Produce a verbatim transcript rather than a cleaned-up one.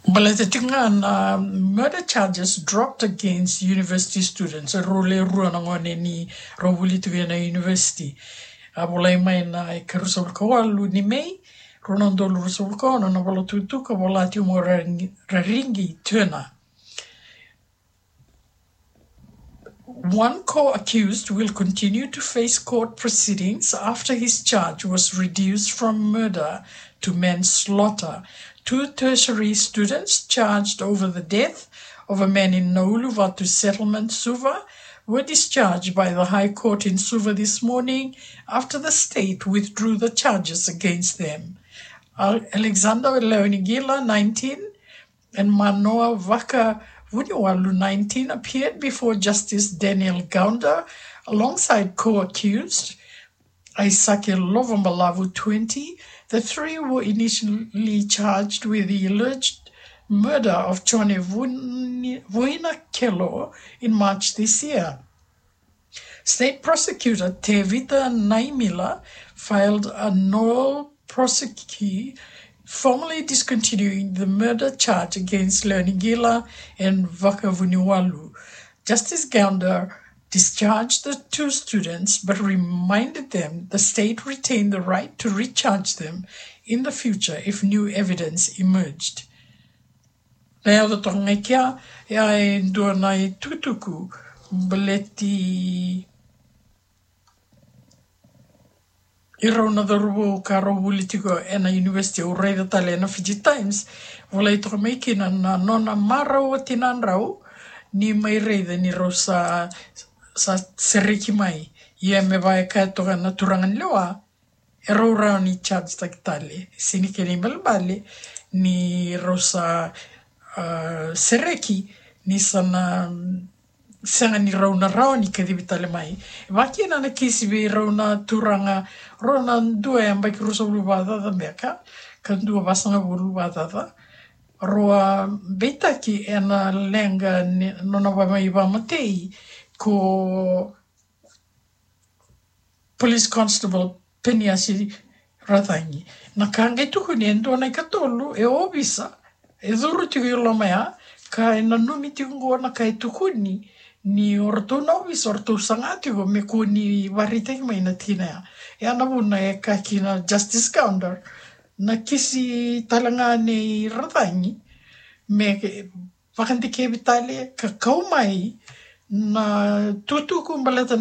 Baleta tiko ga na murder charges dropped against university students. Rau le rua na gone ni rau vuli tiko ena university. A volai mai na ikaruasagavulu ka walu ni May, rua na udolu ruasagavulu ka ono, na vola tukutuku, vola tiko mo Rarigi Turner. One co-accused will continue to face court proceedings after his charge was reduced from murder to manslaughter. Two tertiary students charged over the death of a man in Nauluvatu settlement, Suva, were discharged by the High Court in Suva this morning after the state withdrew the charges against them. Al-, Alexander Leonigila, nineteen, and Manoa Vakavuniwalu, nineteen, appeared before Justice Daniel Gounder alongside co-accused Aisake Lovabalavu, twenty. The three were initially charged with the alleged murder of Jone Vuni-, Vuinakelo in March this year. State Prosecutor Tevita Naimila filed a nolle prosequi, formally discontinuing the murder charge against Leonigila and Vakavuniwalu. Justice Gounder discharged the two students but reminded them the state retained the right to recharge them in the future if new evidence emerged. Na yaco toka ga i kea, ia e dua na itukutuku baleti irau na cauravou ka rau vuli tiko ena university. Au raica tale ena Fiji Times, volai toka mai kina na nona marau o tinadrau ni mai raica ni rau sa, sa sereki mai. Ia me vaka e kaya toka na turaga ni lewa, e rau rawa ni charge taki tale. Sega ni kena ibalebale ni rau sa, ah, sereki ni sa na, mm, sega ni rau na rawa ni kacivi tale mai. E vaka kina na kisi vei rau na turaga, rau na dua e yabaki ruasagavulu vakacaca beka, ka dua vasagavulu vakacaca. Rau a beitaki ena leqa ni nona va-, mai vamatei ko Police Constable Peniasi Racagi. Na ka qai tukuni e dua na ikatolu e ovisa, e curu tiko i loma ya, ka e nanumi tiko qo na ka e tukuni, ni o ratou na ovisa, o ratou saga tiko me kua ni vakaraitaki mai na tikina ya. Ya na vuna e kaya kina Justice Gounder, na kisi tale ga nei Racagi, me vakadikevi tale ka kau mai na itukutuku baleta na